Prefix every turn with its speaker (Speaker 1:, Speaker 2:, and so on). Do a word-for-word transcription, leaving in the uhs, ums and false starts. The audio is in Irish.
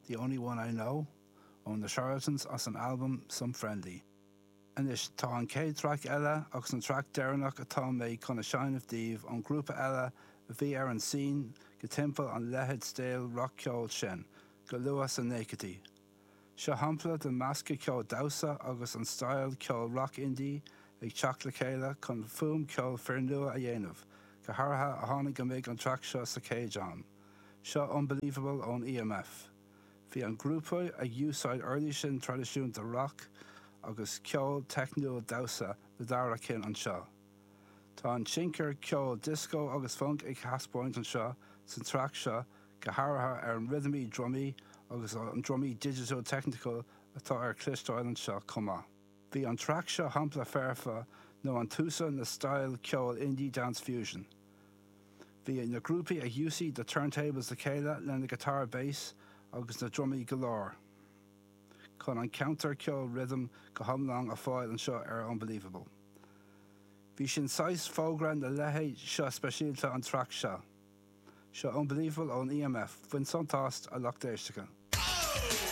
Speaker 1: The Only One I Know ó na Charlatans as an album Some Friendly. Anois tá an chéad traic eile agus an traic deireanach atá mé chun a sheinm daoibh ón grúpa eile a bhí ar an scene go timpeall an leithéid style rac-cheol sin, go luath sna nóchaidí. Seo shampla de meascadh ceol damhsa agus an style ceol rock indie ag teacht le chéile chun fuaim ceol fíornua a dhéanamh, go háirithe a tháinig go mbeidh an traic seo sa chéad am. Seo Unbelievable ón EMF. Bhí an grúpa ag úsáid uirlisí traidisiúnta rock agus ceol teicniúil damhsa na dara cinn anseo. Tá an tionchar ceol disco agus funk ag taispeáint anseo san traic seo go háirithe ar an rithimí drumaí agus an drumaí digital technical atá ar cloisteáil anseo chomh maith. Bhí an traic seo shampla foirfe nó an túsa na style ceol indie dance fusion. Bhí na grúpaí ag úsáid the turntables le chéile lena guitar bass agus na drumaí go leor. Chun an counter ceol rhythm go hiomlán a fáil anseo ar Unbelievable. Bhí sin sais fógra na leithéid seo speisialta an traic seo. Seo Unbelievable ón EMF, bain sult as a lucht éisteachta.